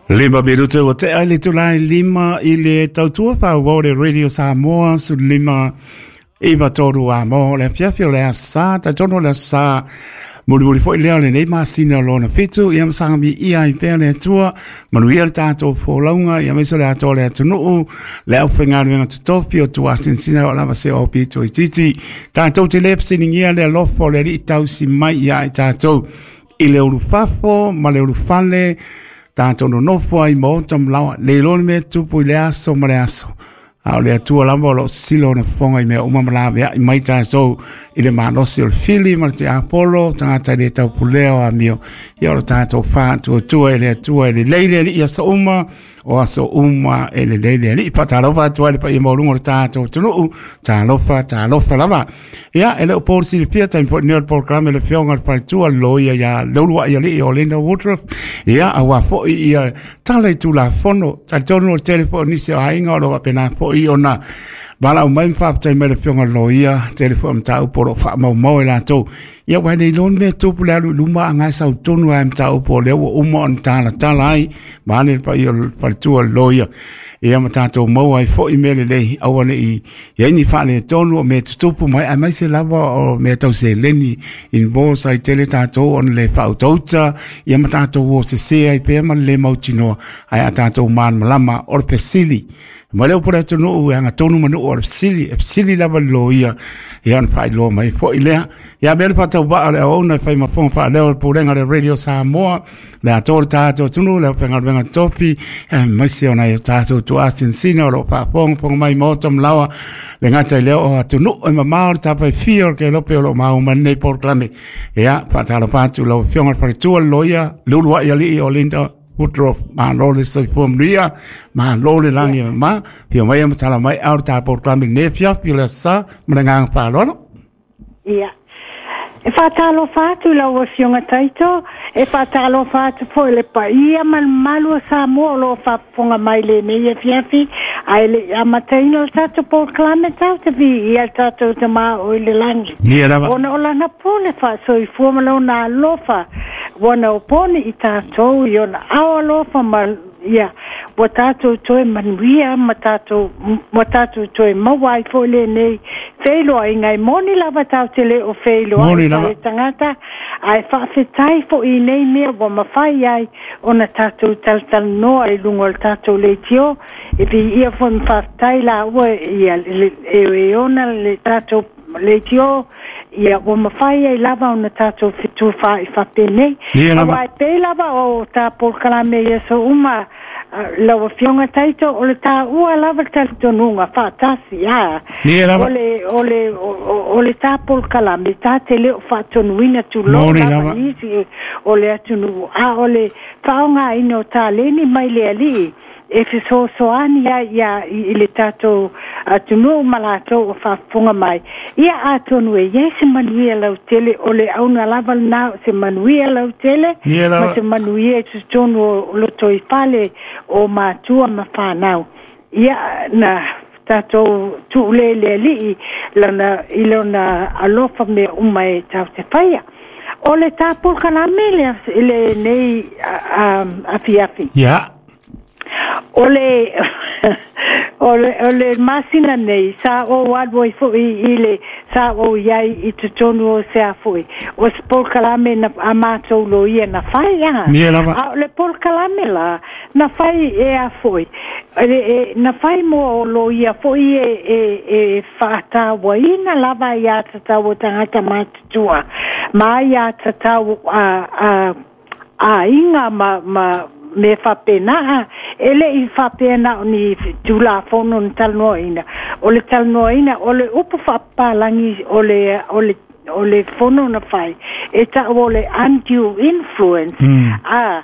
5 minute ua tea i le itula e 5 i le tautua faaauau le Radio Samoa 15 93 a mo le afiafi o le aso Sa, talitonu o le aso Sa mulimuli foi lea o lenei masina o lona fitu, ia ma saga viia ai pea le Atua, manuia le tatou folauga, ia aemaise o le atoa o le atunuu, le aufaigaluega totofi o tuasinsina o lava se o pito itiiti. Tatou te le fesiligia le alofa o le Alii tausi mai ia i tatou i le ulufafo ma le ulufale, tatou nonofo ai i maota ma laoa, le iloa le mea e tupu i le aso ma le aso. A o le Atua lava o lo o sisilo ona fofoga i mea uma ma laveai mai tatou i le malosi o le fili ma le tiapolo, tagata e le taupulea o amio. Ia o lo tatou faatuatua i le Atua e lelei le Alii i aso uma, o aso uma e lelei le Alii. Faatalofa atu ai le paia maualuga o le tatou atunuu, talofa, talofa lava. Ia, e le o po le silafia, taimi foi lenei o le polokalame le Afioga i le Faletua, le Loia ia Leuluai Alii o Linda Woodruff. Ia, aua foi ia tala i Tulafono. Talitonu o le tele foi o nisi o aiga o lo o faapena foi ona valaau mai ma faafetai mai le Afioga i le Loia, tele foi o mataupu o lo o faamaumau e latou. Ia, aua e le iloa le mea e tupu le alu i luma, a na e sau tonu lava i mataupu o lea ua uma ona talatala ai, vaeane le paia o le Faletua o le Loia. Ia ma tatou maua ai foi mea lelei, aua ne i i ai ni faaletonu o mea tutupu mai, aemaise lava o mea tau seleni involves ai tele tatou ona le faautauta, ia ma tatou o sese ai pea ma le le mautinoa, ae a tatou malamalama o le fesili. Ma le upu a le atunuu e agatonu ma nuu o le fesili, e fesili lava le loia, ia ona faailoa mai foi lea. Ia mea le faatauvaa o le auauna e fai ma fofoga faaleo o le Pulega o le Radio Samoa, le atoa o le tatou atunuu, le aufaigaluega tofi, aemaise o nai o tatou tuasinsina o lo o faafogafoga mai maota ma laoa, le gata i lea o atunuu e mamao le tafa e fia o le kelope o lo o maua mai lenei polokalame. Ia, faatalofa atu lau Afioga i le Faletua, le Loia, Leuluai Alii o Linda Woodruff, malo le soifua manuia, malo le lagi e mama, afio mai ma tala mai ao le ta polokalame i lenei afiafi o le Aso Sa, ma le agaga faaaloalo. Ia. E faatalofa atu i lau Afioga Taito, e faatalofa atu foi i le paia ma le mamalu o Samoa o lo o faafofoga mai i lenei afiafi, ae le i amataina le tatou polokalame tatou te viia le tatou Tama o i le lagi. Ia lava. Ona o lana pule faasoifua ma lona alofa ua naoponi i tatou i ona ao alofa ma Ia, ua tatou toe manuia ma tatou, ua tatou toe maua ai foi lenei feiloaiga. E moni lava tatou te le o feiloai ma le tagata, ae faafetai foi i nei mea ua mafai ai ona tatou talatalanoa i luga o le tatou leitio. E viia foi ma faafetai laua ia e ona le tatou leitio, ia ua mafai ai lava ona tatou fetufaai faapenei. Aua e pei lava o ta polokalame i aso uma, lau Afioga Taito, o le taua lava le talitonuga faatasi, a. O le, o le, o le ta polokalame, ta te le o faatonuina tulou lava nisi o le atunuu, a o le faaaogaina o taleni mai le Alii, e fesoasoani ai ia i le tatou atunuu ma latou o faafofoga mai. Ia atonu e i ai se manuia lautele, o le auga lava lena o se manuia lautele ma se manuia i totonu o lotoifale o matua ma fanau. Ia na tatou tuu lea i le Alii lana, i lona alofa mea uma e tatou te faia. O le ta polokalame i lenei afiafi. Yeah. O le, o le, o le masina nei, sa ou alu ai foi i le, sa ou i ai i totonu o se a foi, o se polokalame na, a matou loia na fai, a. Ia lava. A o le polokalame la, na fai e a foi, e, e, na fai mo loia foi e, e, e faatauaina lava aiā tatau a tagata matutua, ma aiā tatau a, a, aiga ma, ma mea faapena, e le i faapea na o ni Tulafono na talanoaina. O le talanoaina, o le upu faapapalagi o le, o le, o le fono na fai, e ta'u o le undue influence, a,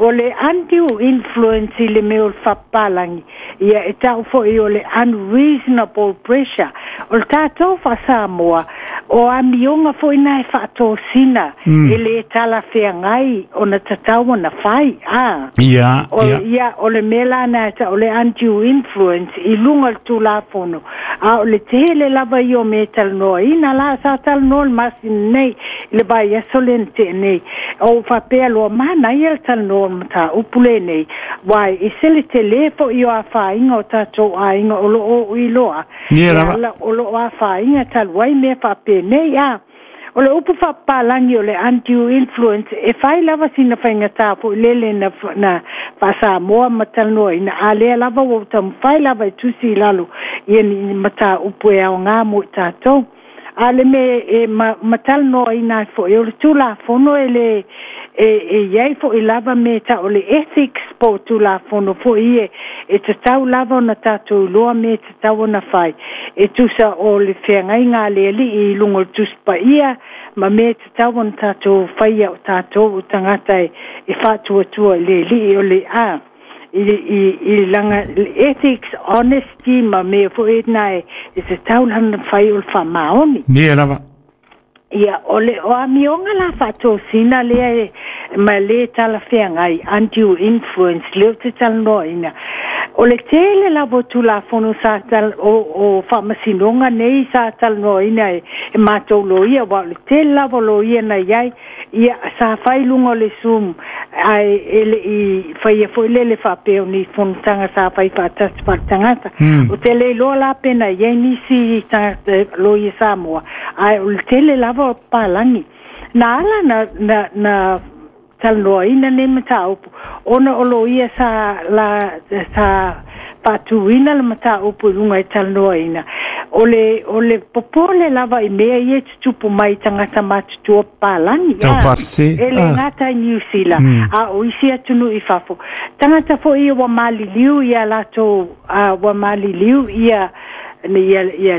o le undue influence i le mea o le faapapalagi, Ia, e ta'u foi o le unreasonable pressure. O le tatou faa-Samoa, o amioga foi na e faatosina e le talafeagai ona tatau ona fai, a. Ia, O, ia. ia, o le mea la na e ta'u o le undue influence i luga o le Tulafono, a o le tele lava ia o mea e talanoaina la, sa talanoa le masina nei i le vaiaso lea na tea nei. O faapea loa manaia le talanoa o le mataupu lenei, uae ese le telē fo'i o afaina o tatou aiga o loo ou iloa Ia e lava. Ala o loo afaina talu ai mea faapenei a. O le upu faapapalagi o le undue influence e fai lava sina faigata fo'i lele na faasamoa ma talanoaina, a lea lava ua ou taumafai lava e tusi i lalo ia ni mataupu e aogā mo i tatou. A le mea e ma talanoaina ai fo'i o le Tulafono e lē e iai fo'i lava me ta'u o le ethics po o Tulafono fo'i ie e tatau lava ona tatou iloa me tatau ona fai e tusa o le feagaiga a le Alii i luga o le Tusi Paia ma mea e tatau ona tatou faia o tatou o tagata e faatuatua i le Alii o le a i laga ethics, honesty ma mea fo'i na e tatau lana fai o le faamaoni. Ia lava. Ia, o le o amioga la faatosina lea e ma lē talafeagai undue influence lea ou te talanoaina. O le tele lava o Tulafono sa tal o faamasinoga nei sa talanoaina e matou loia, ua o le tele lava o loia na iai ia sa fai luga o le Zoom ae e le'i faia fo'i lele faapea o ni fonotaga sa fai faatasi faaletagata. O te le iloa la pe na iai nisi tagata loia Samoa, ae o le tele lava o papalagi na ala na talanoaina nei mataupu ona o loia sa la sa faatuina le mataupu i luga e talanoaina. O le popole lava i mea ia e tutupu mai tagata matutua papalagi Tau faasese. E le gata i Niu Sila a o isi atunuu i fafo, tagata fo'i ia ua maliliu ia latou ua maliliu ia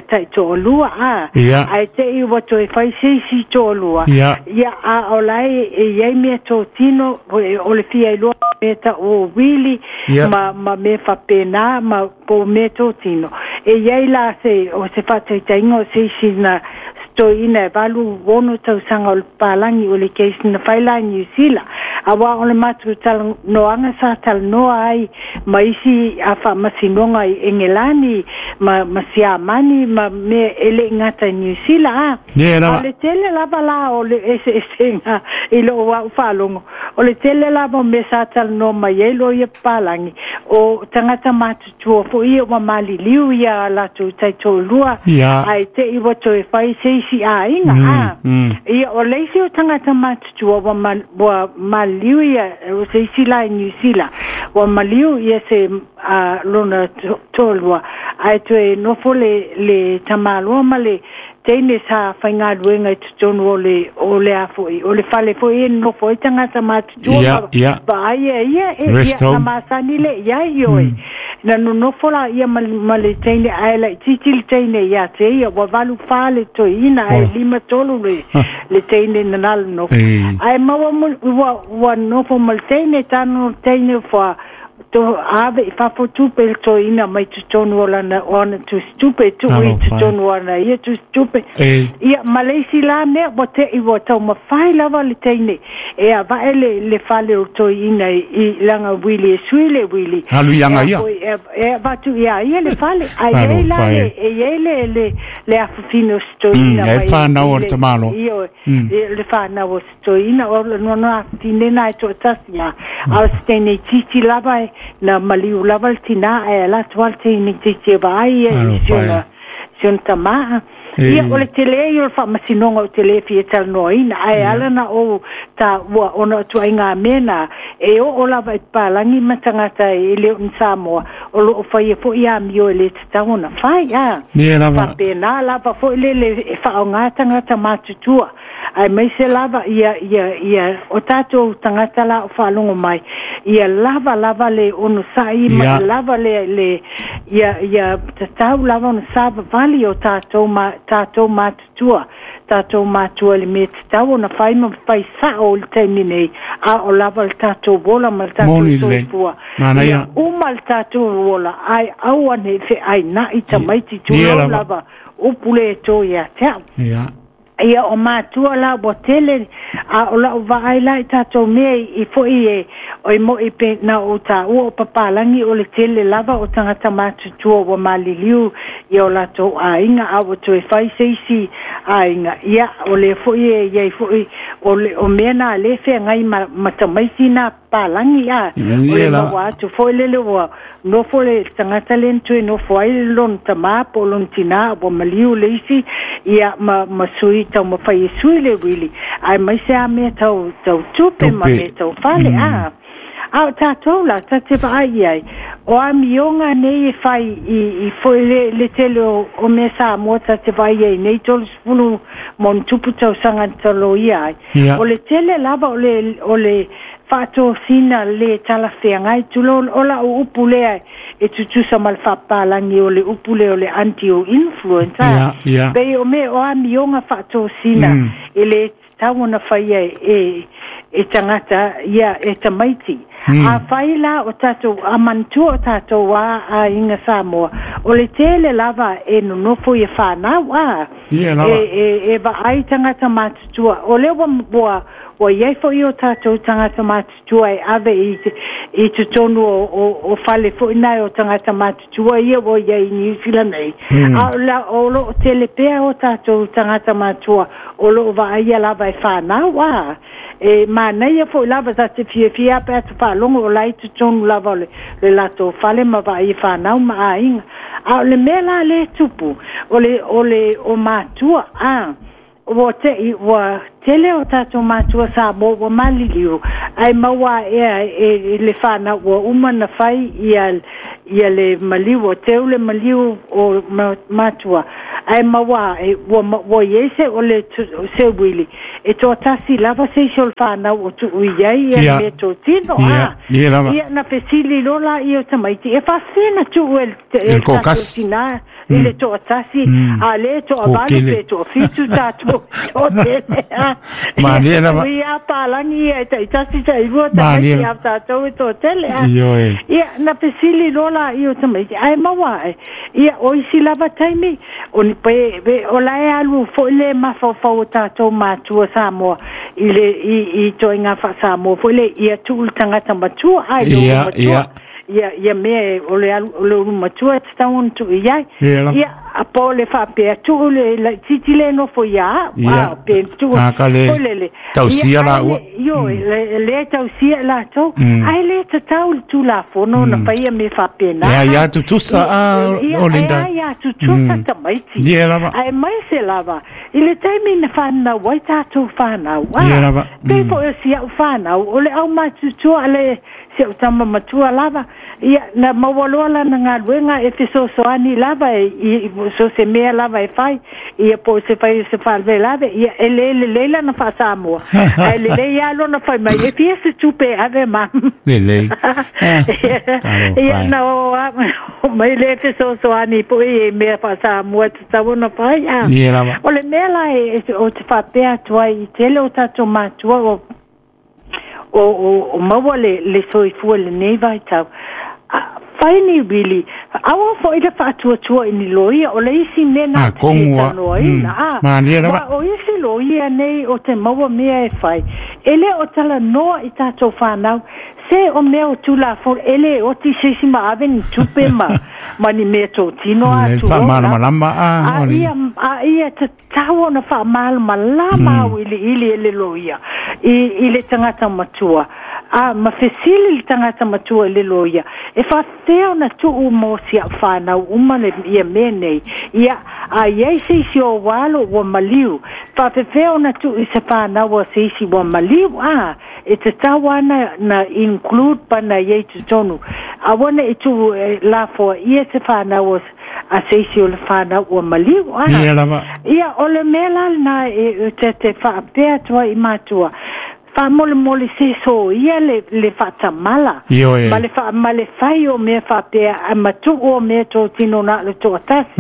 taitoalua a ae te'i ua toe fai se isi toalua ia a o lae e iai mea totino o le fia iloa mea ta'u o uili ma mea faapena ma po o mea totino e iai la se o se faataitaiga o se isi na toeaina e 86 tausaga o le papalagi o le case na fai la i Niu Sila auā o le matou talanoaga sa talanoa ai ma isi a faamasinoga i Egelani ma Siamani ma mea e le'i gata i Niu Sila a. Ia lava. A le tele lava la o le eseesega i lou a'u faalogo o le tele lava o mea sa talanoa mai ai loia papalagi o tagata matutua fo'i ia ua maliliu ia latou taitoalua ae te'i ua toe fai se isi aiga a. Ia o le isi o tagata matutua ua maliliu ia o se isi la i Niu Sila ua maliu ia se lona toalua ae toe nofo le tamāloa ma le teine sa faigaluega i totonu o le a fo'i o le fale fo'i e nofo ai tagata matutua ma vaai e ia e Rest ia na home. Masani le iai oe na nonofo la ia ma le teine ae laitiiti le teine ia te ia ua 84 le toeaina ae Ola. 53 le teine na nalo nofo ae maua ua nofo ma le teine tanu le teine fua to ave i fafo tupe le toeaina mai totonu o lana o ana tusitupe tuu i Alofa e. totonu o ana ia tusitupe ia ma le isi la mea ua te'i ua taumafai lava le teine e ava'e le fale o le toeaina i laga uili e sui le uili Alu i aga e ia. A foi, e avatu iā ia le fale ae iai la Alofa le e. e iai le afafine o se toeaina E mai whānau o i le tamāloa. Ioe, le whānau o se toeaina o le nono afafine na e to'atasi a a o se teine itiiti lava e na maliu lava le tinā ae ala atu a le teine itiiti e vaai ia i Alofa si e. ona tamā ia o le tele ia o le faamasinoga o te lē fia talanoaina ae ala na ou taua ona o tuaiga mea na e oo lava i papalagi ma tagata e le o ni Samoa o loo faia fo'i amio e lē tatau ona fai a Ia lava. faapena lava fo'i lele e faaaogā tagata matutua ae maise lava ia o tatou tagata la o faalogo mai ia lava lava le onosa'i ma lava le ia tatau lava ona savavali o tatou ma tatou matutua tatou matua le mea tatau ona fai ma fai sa'o i le taimi nei a o lava le tatou ola ma le tatou Moni lelei. soifua Manaia. ia uma le tatou ola ae aua nei fe'aina'i tamaiti Ia tulou lava. Lava upu le to ia te a'u. Ia. Ia o matua la ua tele a o la'u vaai la i tatou mea i fo'i e oi mo'i pe na ou tāua o papalagi o le tele lava o tagata matutua ua maliliu i o latou aiga a ua toe fai se isi aiga. Ia o lea fo'i e iai fo'i o le o mea na lē feagai ma tamaiti na palagi a o le maua atu foi lele ua nofo le tagata lea na toe nofo ai lona tamā po o lona tinā ua maliu le isi ia ma sui taumafai e sui le uili aemaise a mea tau tau tupe ma mea tau fale a a o tatou la ta te vaai i ai o amioga nei e fai i foi le tele o mea Samoa ta te vaai ai nei 30 ma ona tupu tausaga na taloia ai. O le tele lava o le faatosina le talafeagai tulou o la'u upu lea e tutusa ma le faapalagi o le upu lea o le undue influence a pei o mea o amioga faatosina e le tatau ona faia e tagata ia e tamaiti. A fai la o tatou a manatua o tatou a aiga Samoa o le tele lava e nonofo ia fanau a e vaai tagata matutua o lea ua iai fo'i o tatou tagata matutua e ave i totonu o fale fo'i nae o tagata matutua ia ua iai i Niu Sila nei a o la o lo'o tele pea o tatou tagata matua o lo'o vaaia lava e fanau a e manaia fo'i lava ta te fiafia pe atu faalogo o la i totonu lava o le latou fale ma vaai fanau ma aiga. A o le mea la le tupu o le o matua a ua te ua tele o tatou matua Samoa ua maliliu ae maua ea e le fanau ua uma na fai ia le maliu o teu le maliu o matua ae maua e ua iai se o le se uili e toatasi lava se isi o le fanau o tuu i ai ia mea totino a ia na fesili loa laia o tamaiti e faafefea na tuu e le tatou tinā i le toatasi a le toavalu pe toafitu tatou toatele a Malie lava. Ia palagi ia e taitasi tailua tamaiti a tatou e toatele a ia na fesili loa laia o tamaiti ae maua ae ia o isi lava taimi o ni pe o la e alu fo'i le mafaufau o tatou matua Samoa i le i toaiga faa-Samoa foi le ia tuu le tagata matua ai le matua ia mea o le alu o le ulu matua e tatau ona tuu i ai ia a po le faapea tuu le laitiiti le nofo ia a pe tuu foi lele tausia laua io le tausia latou ae le tatau le tulafono na faia me faapena ia tutusa a o Linda. Ia tutusa tamaiti ia lava ae mai se lava i le taimi na whanau ai tātou whanau. Ia lava. Pei po o si au whanau, o le au matutua le si au tama matua lava, ia na maua loa lana galuega e fesoasoani lava e i so se mea lava e fai, ia po o se fai o se faalavelave, ia e le lelei lana faa-Samoa. Ae lelei lava lona fai mai, e fia se tupe e ave ma. Lelei. Ia na o mai le fesoasoani po i mea faa-Samoa tatau ona fai. A. Ia lava. O le mea la e o te faapea atu ai i tele o tatou matua o maua le soifua lenei vaitau. Fai ni wili, aua fo'i le faatuatua i ni loia, o le isi mea na talanoaina. A, ma o isi loia nei o te maua mea e fai, e le o talanoa i tatou whanau, se o mea o tulafono, e le oti se isi ma ave ni tupe ma ni mea tōtino a tu. Faamalamalama a. A ia tatau ona faamalamalama au iliili e le loia i le tagata matua. A ma fesili le tagata matua i le loia, e faafefea ona tuu mo si au whanau uma le ia mea nei. Ia, a iai se isi o alo ua maliu, faafefea ona tuu i se whanau a se isi ua maliu a, e tatau ana na include pa na iai totonu. Aua ne i tuu lafoa ia se whanau a se isi o le whanau ua maliu a. Ia lava. Ia, o le mea la lena e te faapea atu ai i matua. Faamolemole se soia le faatamala ma le ma le fai o mea faapea ae matuu o mea totino na o le toatasi.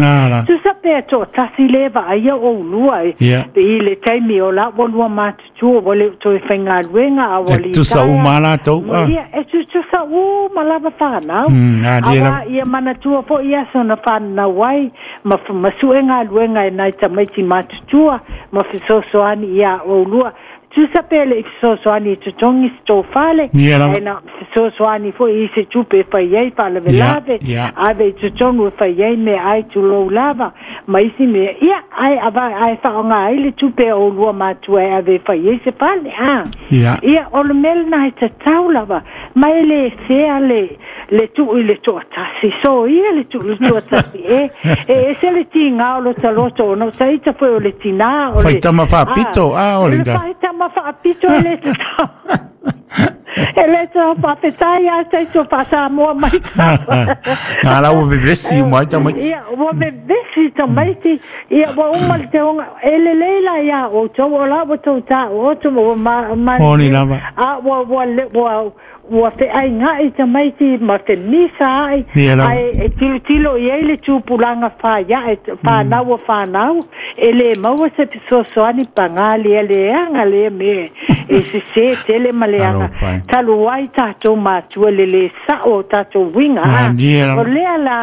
Tusa pea toatasi le vaaia oulua i le taimi o la ua lua matutua ua le o toe faigaluega a ua E tutusa uma lava latou. Ia, e tutusa uma lava fanau. Auā ia manatua foi aso na fananau ai ma sue galuega e nai tamaiti matutua ma fesoasoani iā oulua. Tusa pe le i fesoasoani e totogi se tou fale, ae na fesoasoani foi i se tupe e fai ai faalavelave, ave i totonu e fai ai meaai tulou lava, ma isi mea, ia, ae ava, ae faaaoga ai le tupe a oulua matua e ave e fai ai se fale, a. Ia, o le mea lena e tatau lava, ma e le fea le tuu i le toatasi, soia le tuu i le toatasi, e, e ese le tiga o lota loto, ona o taita foi o le tinā, o le... Faitama faapito, a, o le faitama faapito e le tatau. E le tatau faafetai lava taito faa-Samoa mai. Nā la ua vevesi uma ai tamaiti. Ia, ua vevesi tamaiti, ia ua uma le teoga. E lelei la iā outou, o la ua tou taooto ma ua ma, ma, Moni lava. a ua, ua, ua, Ua feainga'i tamaiti ma femisa a'i, ae e tilotilo i ai le tupulaga faia'e, fanau a fanau, e lē maua se fesoasoani pagā lea leaga lea mea e sesē tele ma leaga talu ai tatou matua le lē sa'o o tatou uiga a o lea la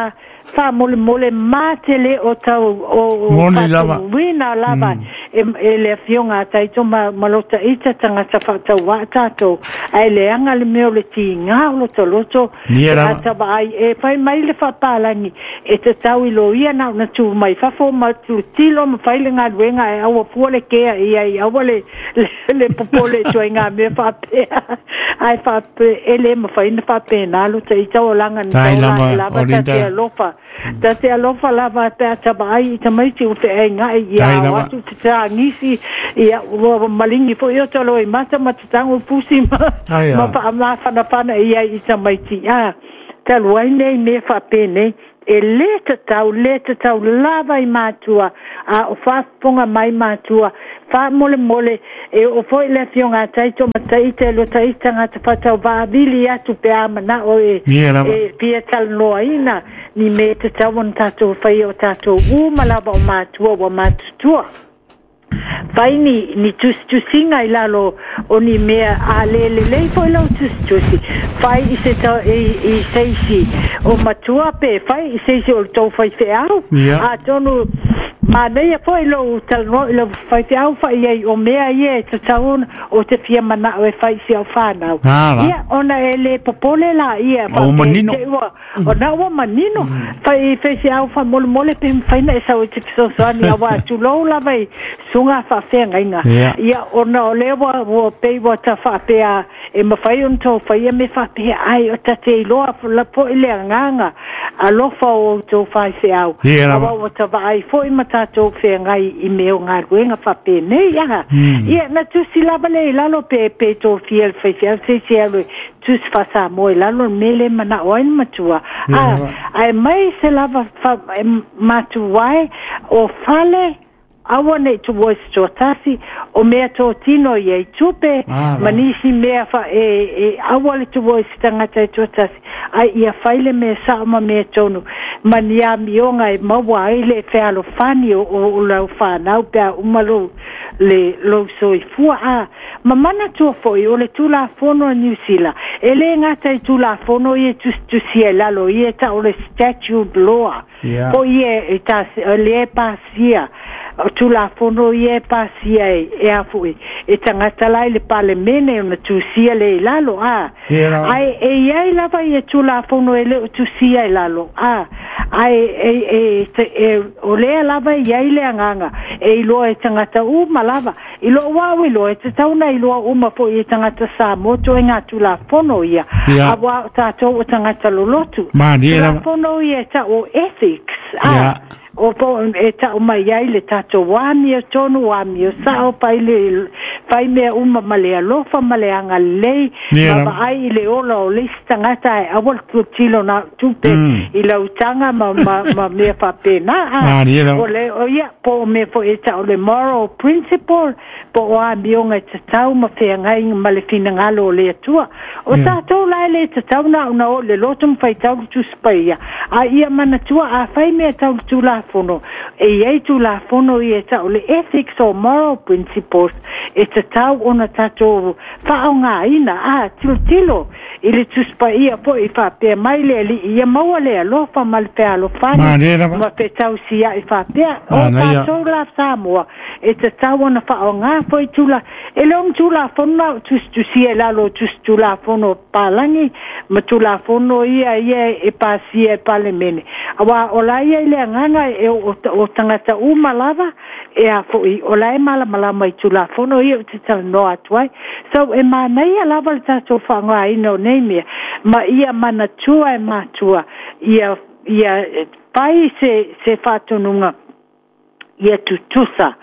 faamolemole matele o tau o Moni lava. faatauina lava e le afioga a Taito ma lota ita tagata faatauvaa tatou, ae leaga le mea o le tiga o lota loto Nia pe a lava. tavaai e fai mai le faapalagi e tatau i loia na ona tu mai fafo ma tilotilo ma fai le galuega ae aua fua le kea i ai aua le popole i ituaiga mea faapea ae faapea e le mafai ona faapena lota ita olaga na Tai taola lava, ae lava o ta te Linda. alofa ta te alofa lava pe a tavaai i tamaiti ua feaiga'i ia Tai ao lava. atu te tāgisi ia ua maligi foi o taloimata ma te tago pusi ma Tai ma a. faamafanafana i ai i tamaiti a talu ai nei mea faapenei e lē tatau lē tatau lava i matua a o faafofoga mai matua faamolemole e oo foi le afioga a Taito ma Taita e lua taita tagata faatauvaavili atu pe a manao e Nia lava. e fia talanoaina ni mea e tatau ona tatou faia o tatou uma lava o matua ua matutua fai ni tusitusiga i lalo o ni mea a lē lelei foi lau tusitusi fai i se i se isi o matua pe fai i se isi o le tou faifeau atonu manaia foi lou talanoa i lau faifeau fai ai o mea ia e tatau ona o te fia manao e fai i si au fanau ia ona e lē popole laia O faapea manino. te ua ona ua manino fai i faifeau faamolemole pe mafai na e sau e te fesoasoani auā tulou lava i susuga faafeagaiga ia ona o lea ua pei ua ta faapea e mafai ona tou faia me faapea ai o tate iloa la fo'i le agaga alofa o outou faifeau auā ua tavaai foi ma tatou feagai i mea o galuega faapenei aha. Ia na tusi lava lea i lalo pe pe tofia le faifeau se isi e alu e tusi faasamoa i lalo le mea lea e manao ai le matua a ae mai se lava fa, e matuae o fale aua nei tuua i se toatasi o mea totino ia i tupe ma nisi mea fa e aua le tuua i se tagata e toatasi ai ia fai le mea sao ma mea tonu ma ni amioga e maua ai le fealofani o lau fanau pe a uma lou le lou soifua a ma manatua foi o le Tulafono a Niu Sila e lē gata i Tulafono ia e tusitusia i lalo ia e ta'u le statute law po ia e ta lea e pasia o Tulafono ia e pasia e a foi e tagata la i le Palemene ona tusia lea i lalo a ae e iai lava ia Tulafono e le o tusia i lalo a ae e o lea lava e iai le agaga e iloa e tagata uma lava i lou au iloa e tatau ona iloa uma foi e tagata Samoa ituaiga Tulafono ia auā o tatou o tagata lolotu Tulafono ia e ta'u o ethics a O po e tau mai ai le tatou amiotonu, amiosao, fai le fai mea uma ma le alofa ma le agalelei, ma vaai i le ola o le isi tagata ae aua le tilotilo na o tupe i lau taga ma mea faapena. O le o ia po o mea foi e tau le moral principle, po o amioga e tatau ma feagai ma le finagalo o le Atua. O tatou la e le tatau na ona oo i le loto ma faitau le Tusi Paia, a ia manatua a fai mea tau le Tulafono, e i ai Tulafono ia e tau le ethics or moral principles e tatau ona tatou faaaogaina. A tilotilo i le Tusi Paia foi faapea mai le Alii, ia maua le alofa ma le fealofani ma fetausiai faapea. O tatou la Samoa e tatau ona faaaoga foi tula, e le o ni Tulafono na o tusitusia i lalo o tusi Tulafono palagi ma Tulafono ia ia e pasia e Palemene. Aua o la ia i le agaga e o tagata uma lava e a foi o la e malamalama i Tulafono ia ou te talanoa atu ai. So e manaia lava le tatou faaaogaina o nei mea ma ia manatua e matua ia ia fai se faatonuga ia tutusa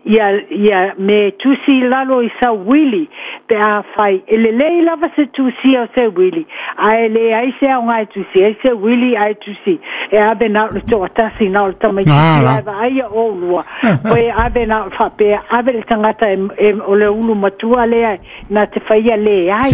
ia ia me tusi i lalo i sau uili pe a fai e lelei lava se tusia o se uili ae leai se aoga e tusi ai se uili ae tusi e ave na o le toatasi na o le tamaitiiti ae vaaia oulua pe ave na o le faapea ave le tagata e o le ulu matua lea na te faia leai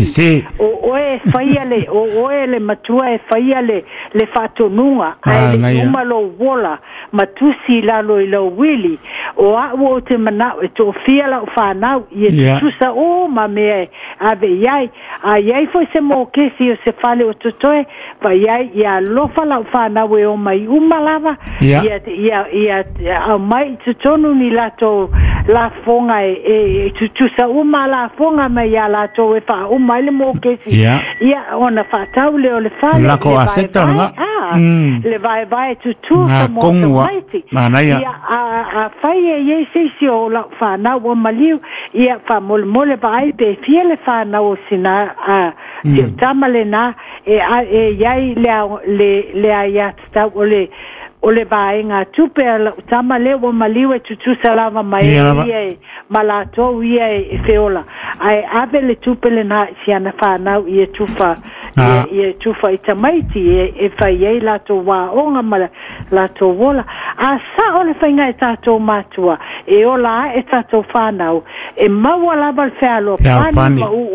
o oe e faia le o oe le matua e faia le faatonuga ae le uma lou ola ma tusi i lalo i lou uili. O a'u ou te mana'o e to'afia la'u fanau ia tutusa uma mea e ave i ai. A i ai foi se mokesi o se fale o totoe, fai ai ia alofa la'u fanau e omai uma lava, ia ia ia aumai i totonu ni latou lafoga e tutusa uma lafoga mai iā latou e faauma ai le mokesi, ia ona faatau lea o le fale, le vaevae, le vaevae tutusa mo tamaiti. Ia afai e i ai se isi o la'u fanau ua maliu, ia faamolemole vaai pe fia le fanau o sina a si o tama lenā e e i ai le le aiatatau o le vaega tupe a la'u tama lea ua maliu e tutusa lava ma e ia e ma latou ia e feola, ae ave le tupe lenā i si ana fanau ia tufa ia tufa i tamaiti e fai ai latou aoga ma latou ola. A sa'o le faiga e tatou matua e ola ae tatou fanau e maua lava le fealofani ma